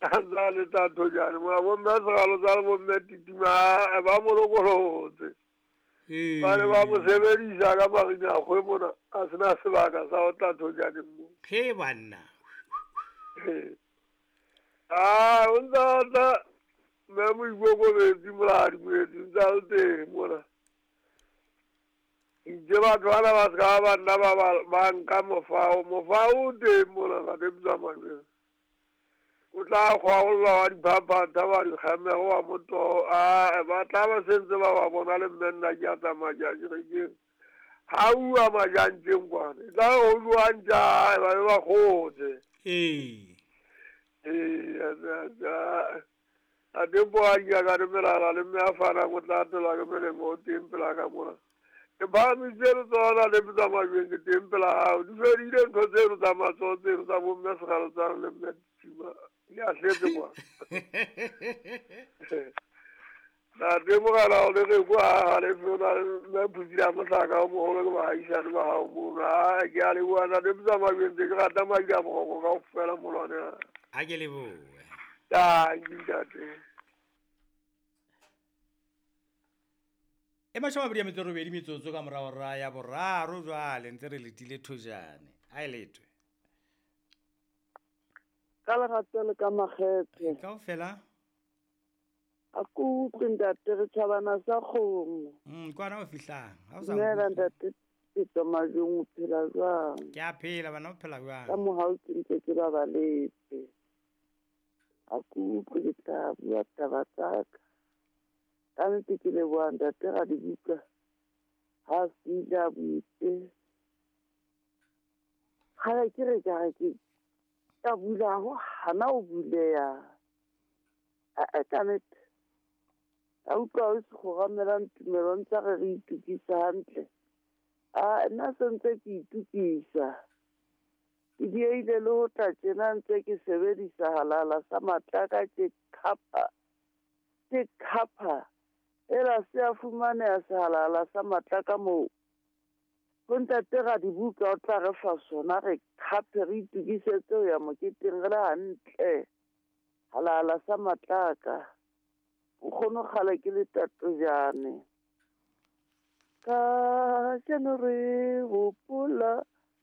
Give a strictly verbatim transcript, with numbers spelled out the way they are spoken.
A ntse a le tla Thojane mona bomme Segalotsana bomme Titima ba mo lokolotse. Ee. Ba ne ba mo sebedisa ka marinakgwe mona a sena sebaka sa ho tla Thojane mo. He banna. Ah, o ntse a tla mme Moikokobetsi Moladi Moeti o ntse a le teng mona. Itse batho bana ba ska ba nna ba ba ba nka mofao, mofao o teng mona ka tsa majweng. O tla kgwaolla wa diphaphatha wa dikgamego wa motoho, a ba tla ba sentse ba ba bona le mme nna ke a tsamaya ke a kerekeng. Ha uwa majantjeng kwana, e tla re ho jwang tja, ba be ba kgotse. Ee. Ee, a a teng po a ke ka re melala le mme a fanang o tla atelwa ke melemo o teng pela ka mona. Ke phahamisitse letsoho la le tsa majweng ke teng pela hao. Di fedile ntho tseno tsa matsoho tseno tsa bomme Segalotsana le mme Titima. Di a tletse kwa. Ntate mogala o le re kwa ha le fela mme Phutsi a mohlaka o moholo ke baahisane ba hao mono. Ah, ke a leboha ntate tsa majweng tse ke rata madi a boroko kaofela molwane. Ha ke lebohe. Tanki ntate. E mashome a mabedi a metso e robedi metsotso ka morao hora ya boraro jwale ntse re letile Thojane. Ha e letwe. Ka lerato le ka makgethe. Kaofela. A ke utlwe ntate re tjhabana sa kgomo. Mm, kwana o fihlang. Ha o sa Dumela nkutlwe. ntate Peter Majweng, o phela jwang? Ke a phela bana, o phela jwang? Ka mohau ke ntse ke babaletse. A ke utlwe ke tla bua taba tsa ka. Ka nnete ke leboha ntate Radibuka. Ha se ile a buitse. Kgale ke re ka re ke ka bula ho hana ho buleha. A ka nnete. A utlwa o se kgoramelang tumelo ntse re re itokisa hantle. A nna se ntse ke itokisa. Ke dieile le ho tla tjena ntse ke sebedisa halala sa matlaka ke khapa. Ke khapa. Ela se a fumaneha sehalala sa matlaka moo. Ho ntate Radibuka o tla re fa sona re khape re itokisetse ho ya moketeng re le hantle. Halala sa matlaka. Nkgono kgale ke le Tatojane. Kajeno re hopola